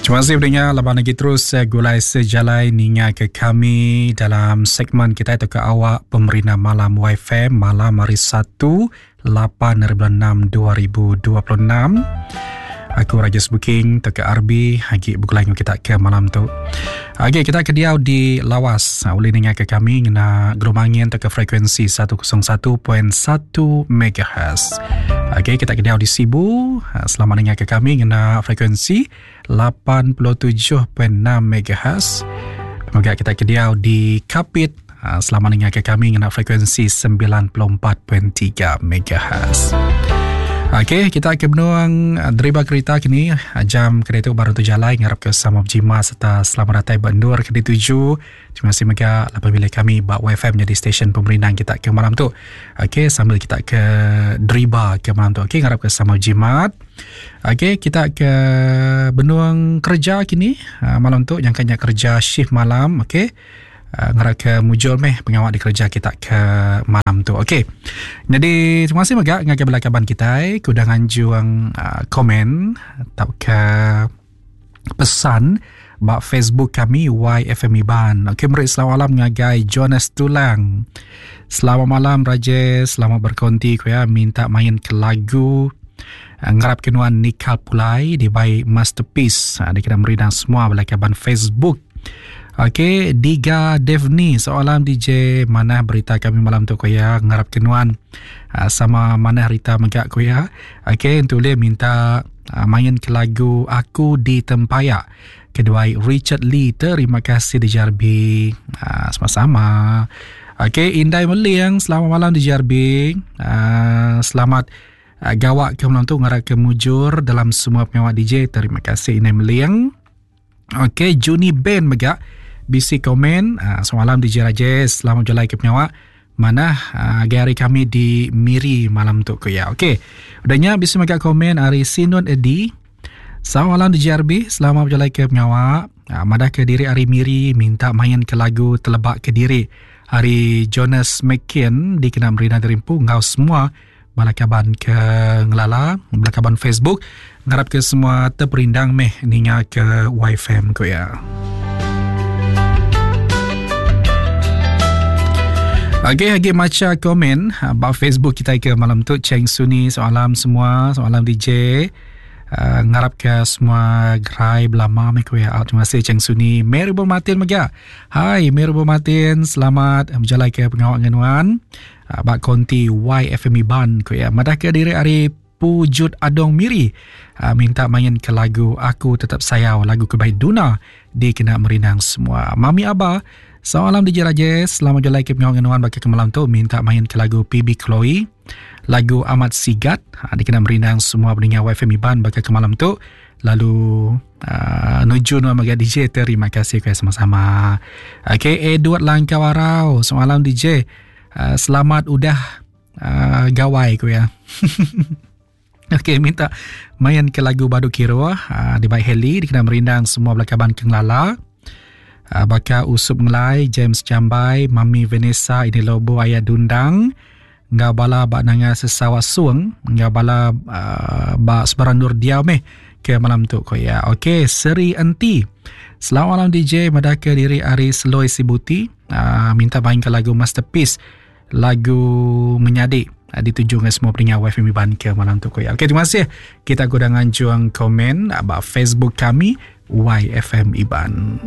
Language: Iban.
Terima kasih pendengar laban lagi terus eh, gulai sejalai ninga ke kami dalam segmen kita itu ke awak pemerintah malam YFM malam hari 1 8 hari bulan 6 2026. Aku Raja Sebuking teka RB agi begulai dengan kita ke malam tu. Agi kita ke diau di Lawas. Ha, boleh dengar ke kami ngena gelombang angin teka frekuensi 101.1 MHz. Okey, kita ke diau di Sibu. Ha, selamat dengar ke kami ngena frekuensi 87.6 MHz. Moga kita ke diau di Kapit. Ha, selamat dengar ke kami ngena frekuensi 94.3 MHz. Okey, kita ke benuang ah, deriba kereta kini ah, jam kereta baru tu jalan ngarap ke sama berjima serta selamat datang bendur ke dituju. Terima kasih mega apabila kami bak YFM jadi stesen pemerindang kita ke malam tu. Okey, sambil kita ke deriba ke malam tu. Okey, ngarap ke sama berjimat. Okey, kita ke benung kerja kini ah, malam tu yang kanya kerja shift malam, okey. Uh, ngarap ke mujur meh pengawa dikerja kita ke malam tu. Okey. Jadi terima kasih mega ngagai bala kaban kitai ke udah nganjung uh, komen tauka pesan ba Facebook kami YFM Iban. Okey, meri selamat malam ngagai Jonas Tulang. Selamat malam Rajesh, selamat berkonti ku ya minta main ke lagu uh, ngarap ke nuan Nikal Pulai dibai Masterpiece. Uh, dikena merindang semua bala kaban Facebook. Okey, Diga Devni soalan DJ manah berita kami malam tu ko ya ngarap ke nuan uh, sama manah rita mega ko ya. Okey, untuk boleh minta uh, main ke lagu Aku di Tempayak. Kedua Richard Lee terima kasih DJ RB. Uh, sama-sama. Okey, Indai Meling selamat malam DJ RB. Uh, selamat uh, gawak ke malam tu ngarap ke mujur dalam semua pengawak DJ. Terima kasih Indai Meling. Okey, Juni Ben mega bisi komen uh, semalam DJ Rajesh selamat berjalai ke pengawa mana uh, hari kami di Miri malam tu ku ya. Okey. Udahnya bisi mega komen hari Sinun Edi. Selamat malam DJ RB, selamat berjalai ke pengawa. Uh, madah ke diri hari Miri minta main ke lagu Telebak ke Diri. Hari Jonas McKean dikena merina derimpu ngau semua Bala kaban ke ngelala, bala kaban Facebook ngarap ke semua terperindang meh ninga ke YFM ku ya. Okey, lagi maca komen ba Facebook kita ke malam tu Cheng Suni soalam semua, soalam DJ. Uh, ngarap ke semua gerai belama meh ku ya. Terima kasih Cheng Suni. Mary Bo Martin mega. Hai Mary Bo Martin, selamat berjalai ke pengawa dengan nuan. Ah, ba konti YFM Iban ku iya madahka diri ari Pujut Adong Miri ah, minta main ke lagu Aku Tetap Sayau lagu ke baik Duna dikena merindang semua. Mami Aba Selamat malam DJ Rajesh Selamat jalai ke pengawa dengan nuan baka ke malam tu minta main ke lagu PB Chloe lagu Amat Sigat ha, dikena merindang semua pendengar YFM Iban baka ke malam tu lalu uh, nuju nuan mega DJ terima kasih ke sama-sama. Okey Edward Langkau Arau selamat malam DJ Uh, selamat udah uh, gawai ku ya. Okey, minta main ke lagu Badu Kiro uh, di baik Heli dikena merindang semua belakaban ke ngelala. Uh, baka Usup Ngelai, James Jambai, Mami Vanessa, ini Lobo Ayah Dundang, enggau bala ba nanga sesawak suang, enggau bala uh, ba sebarang nur diau meh ke malam tu ko ya. Okey, Seri Enti. Selamat malam DJ, madahka diri ari Seloi Sibuti. Uh, minta main ke lagu Masterpiece lagu Menyadi uh, dituju dengan semua pendengar WFM Iban ke malam tu ya. Okey, terima kasih. Kita guna nganjuang komen about Facebook kami YFM Iban.